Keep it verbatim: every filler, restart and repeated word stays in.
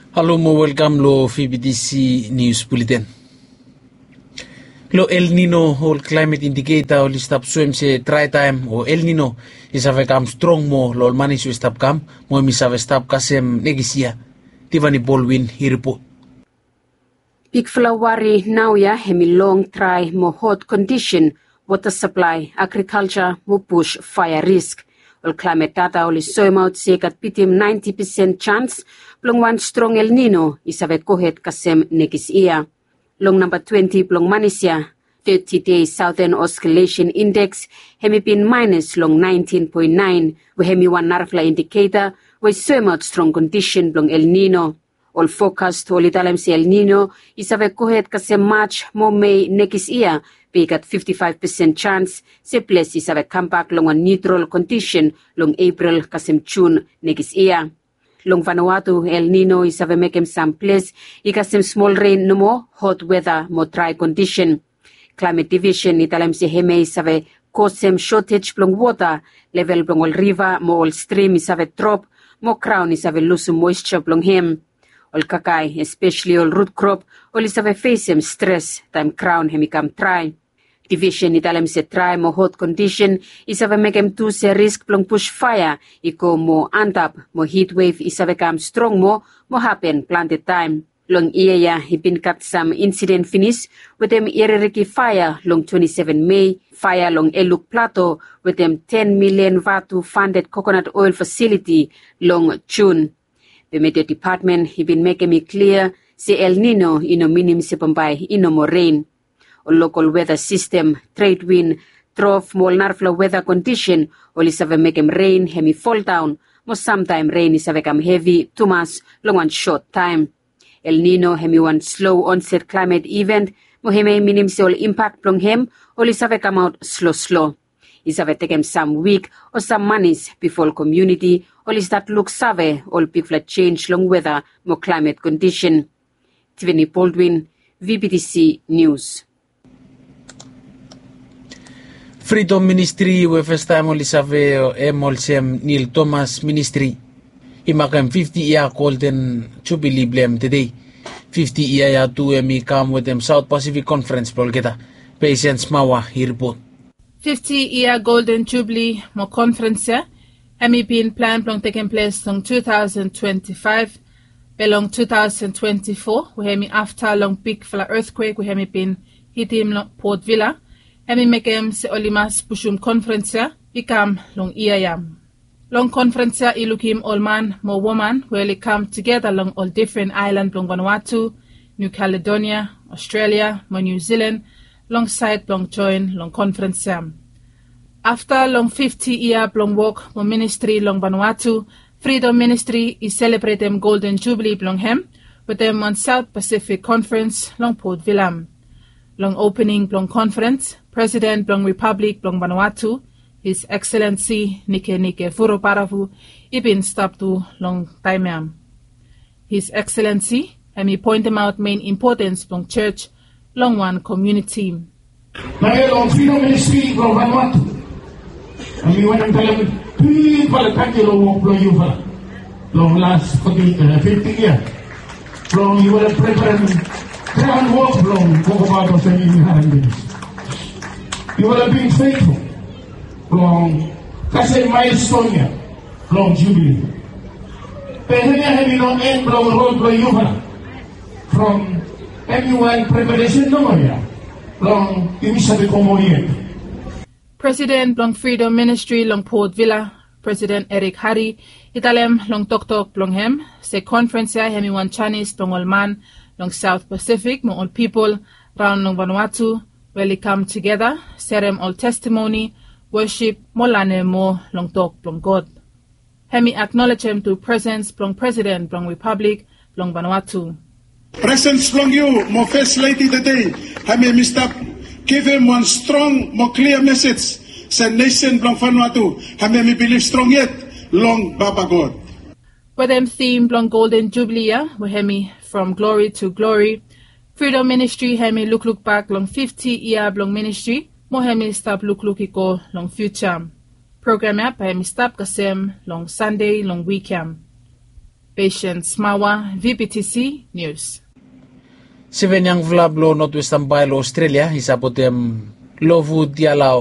Halo mo welkam lo V B T C News Bulletin. Lo El Nino, ol climate indicator oli stap soem se dry time o El Nino i save kam strong moa lo ol manis we stap kam, mo hemi save stap kasem nekis yia. Tiffany Baldwin i ripot. Bigfala wari naoia hemi long dry mo hot kondisen, wota saplae, agrikalja mo bus faea risk. Ol klaemet data oli soemaot se i gat bitim naenti pesen jans blong wan strong El Nino i save gohed kasem nekis yia. Long namba twenti blong manis ya, teti dei Southern Oscillation Index hemi bin maenus long naentin poen naen, we hemi wan narafala indiketa we i soemaot strong kondisen blong El Nino. Ol fokas oli talem se El Nino i save gohed kasem Maj mo Mei nekis yia, be i gat fifti faef pesen jans se ples i save kambak long wan niutral kondisen long Epril kasem Jun nekis yia. Long Vanuatu, El Nino i save mekem sam ples i kasem smol ren nomo, hot weta mo drae kondisen. Klaemet Divisen i talem se hemia i save kosem sotej blong wota, level blong ol riva mo ol strim i save drop, mo graon i save lusum moesja blong hem. Ol kakae, espeseli ol rut krop, oli save fesem stres taem graon hemi kam drae. Divisen i talem se drae mo hot kondisen i save mekem tu se risk blong bus faea i go moa antap, mo hitwev i save kam strong moa mo hapen plante taem. Long yia ya i bin gat sam insiden finis wetem ireriki faea long twenti seven Mei, faea long Eluk Plato wetem ten milian vatu fanded kokonat oel fasiliti long Jun. Be Meteo Depatmen i bin mekem i klia se El Nino i no minim se bambae i no moa ren. Ol lokol weta sistem, tred win, drof mo ol narafala weta kondisen oli save mekem ren hemi foldaon, mo samtaem ren i save kam hevi tumas long wan sot taem. El Nino hemi wan slo onset klaemet iven, mo hemia i minim se ol impak blong hem oli save kamaot sloslo. I save tekem sam wik o sam manis bifo ol komuniti oli stat luksave ol bigfala jenj long weta mo klaemet kondisen. Tiffany Baldwin, V B T C Nius. Fridom Ministri we fastaem oli save hem olsem Nil Thomas Ministri i makem fifti yia Golden Jubili blong hem tede. Fifti yia ya tu hemi kam wetem South Pacific Conference blong olgeta. Patience Mawa i ripot. Fifti yia Golden Jubili mo konferens ya hemi bin plan blong tekem ples long tu taosen twenti faef, be long tu taosen twenti fo, we hemi afta long bigfala etkwek we hemi bin hitim long Port Vila, hemi mekem se oli mas pusum konferens ya i kam long yia ya. Long konferens ya i lukim ol man mo woman we oli kam tugeta long ol difren aelan blong Vanuatu, New Caledonia, Australia mo New Zealand, long saed blong joen long konferens ya. Afta long fifti yia blong wok mo ministri long Vanuatu, Fridom Ministri i selebretem Golden Jubili blong hem wetem wan South Pacific Conference long Port Vila. Long opening blong konferens, Presiden blong Ripablik blong Vanuatu, His Excellency Nikenike Vurobaravu, i bin stap tu long taem ya. His Excellency hemi poentemaot mein impotens blong jos long wan komuniti. Nao ya long Fridom Ministri blong Vanuatu, hemi wantem talem bigfala tangkiu long wok blong yufala long las foti, eh, fifti yia. Blong yufala preparem graon wok blong wokabaot olsem yumi harem pinis. Yufala bin feitful blong kasem maelston ya blong Jubili. Be hemia hemi no en blong rod blong yufala. From hemi wan preparesen nomo ya blong yumi save go moa yet. Presiden blong Fridom Ministri long Port Vila, Presiden Eric Harry, i talem long toktok blong hem se konferens ya hemi wan janis blong ol man long South Pacific mo ol pipol raon long Vanuatu we oli kam tugeta, serem ol testimoni, wosip mo lanem moa long tok blong God. Hemi aknolejem tu presens blong Presiden blong Ripablik blong Vanuatu. Presens blong yu mo Fes Ledi tede, hemi stap givim wan strong mo klia mesej se nesen blong Vanuatu hemi bilif strong yet long Papa God. Wetem tim blong Golden Jubili ya we hemi From Glory to Glory, Fridom Ministri hemi lukluk bak long fifti yia blong ministri mo hemi stap lukluk i go long fiuja. Program ya bae hemi stap kasem long Sande long wik ya. Patience Mawa, V B T C News. Seven yangfala blong Northwestern Bai long Australia i sapotem Lovu Dialau